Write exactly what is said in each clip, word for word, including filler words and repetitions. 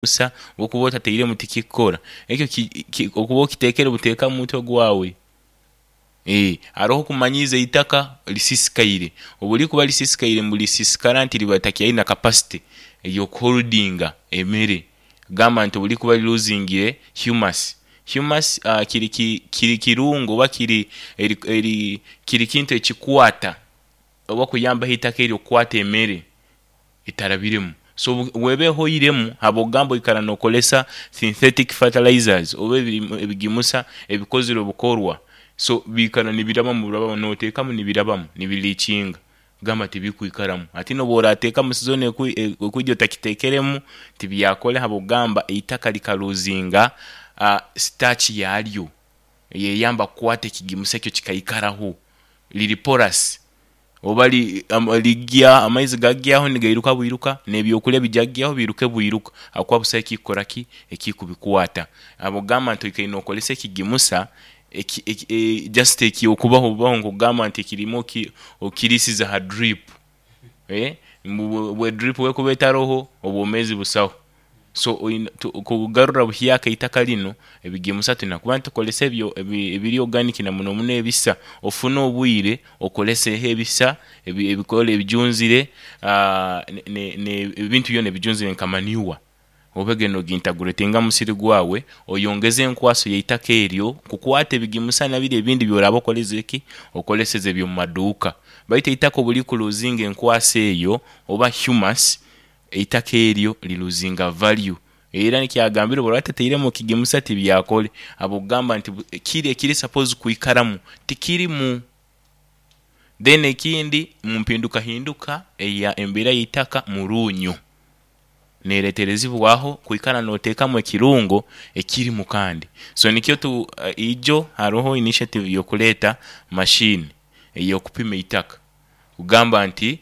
Busa okuba otateiremu tikikukora ekyo ki- ki- okuba okiteekere buteeka mu mutwe gwawe. Eeh haroho okumanyiiza eitaka lisisikaire, obulikuba lisisikaire mbu lisisikara nti liba litakyaina kapasite eyokuholdinga emere, gamba nti obulikuba liluzingire humus. Humus aa kiri ki kiri kirungo oba kiri eri eri kiri kintu ekikwata oba okuyambaho eitaka eryo okukwata emere etarabiremu, so bweba ehweiremu habwokugamba oikara nokolesya synthetic fertilizers oba ebiri ebigimusa ebikozirwe bukorwa, so biikara nibirabamu burabamu notekamu nibirabamu nibiliikinga kugamba tibikwikaramu. Hati nobworatekamu sizoni ekwi ekwiija otakitekeremu tibyakole habwokugamba eitaka likaluzinga sitaachi yalyo eyeyamba okukwata ekigimusa ekyo kikaikaraho, liri porous oba li ligya amaizi gagyaho nigairuka bwiruka nebyokulya bijagyaho biiruke bwiruka habwokuba busaho ekikukoraki ekikubikwata habwokugamba nti oikaire nokolesya ekigimusa eki eki just ekyokubaho bubaho nkokugamba nti ekirimu oki okirisize ha drip ee mbu bwe drip bwekuba etaroho obwomezi busaho. So oina kugarura buhyaka eitaka linu ebigimusa tulina kuba nitukolesya ebyo ebiri oganika namuno ebisa ofune obwire okoleseho ebisa ebi ebikore ebijunzire aa ne ne ebintu byona ebijunzire nka manure obege nogintaguretinga omusiri gwawe oyongeze enkwaso yaitaka eryo kukwata ebigimusa nabiri ebindi byoraba okozereki okoleseze ebyomumaduuka baitu eitaka obulikuluzinga enkwaso eyo oba humus, eitaka eryo liruzinga value era nikyagambire obworaba otateiremu kigimusa tibyakole habwokugamba nti kiri ekiri sapozi okwikaramu tikirimu. Then ekindi mumpindukahinduka eya embeera yaitaka muruunyo nereterezibwaho kwikara notekamu ekirungo ekirimu kandi. So nikyo tu ijo haroho initiative yokuleta machine eyokupima eitaka kugamba nti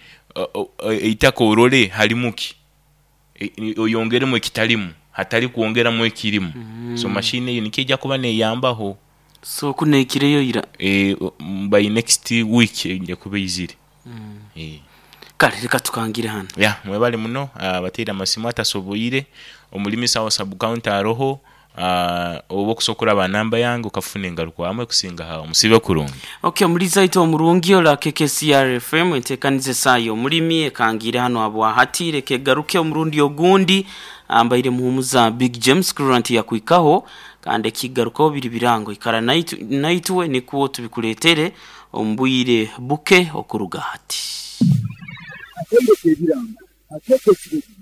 eitaka orole harimu ki oyongeremu ekitarimu hatari kwongeramu ekirimu, so machine eyo nikyo eja kuba neyambaho. So kunu eikireyo ira? Eeh by next week eja kuba eizire. Kale leka tukangire ghano. Ya mwebale muno abateire amasimu atasoboire omulimisa wa sabu kaunti aroho aa oba okusobola okuraba anamba yange okafuna engarukwamu ekusinga awo. Musiibe kurungi. Ok omuliiza waitu omurungi ole K K C R F M entekaniza esaa y'omulimi ekangiire hano habwahati leka egaruke omurundi ogundi ambaire muhumuza Big James kurora nti yakwikaho kandi ekigarukaho biri birango ikara naitu naitwe nikwo tubikuletere omubwire buke okuruga hati. Akaire k'ebirango akeekesirege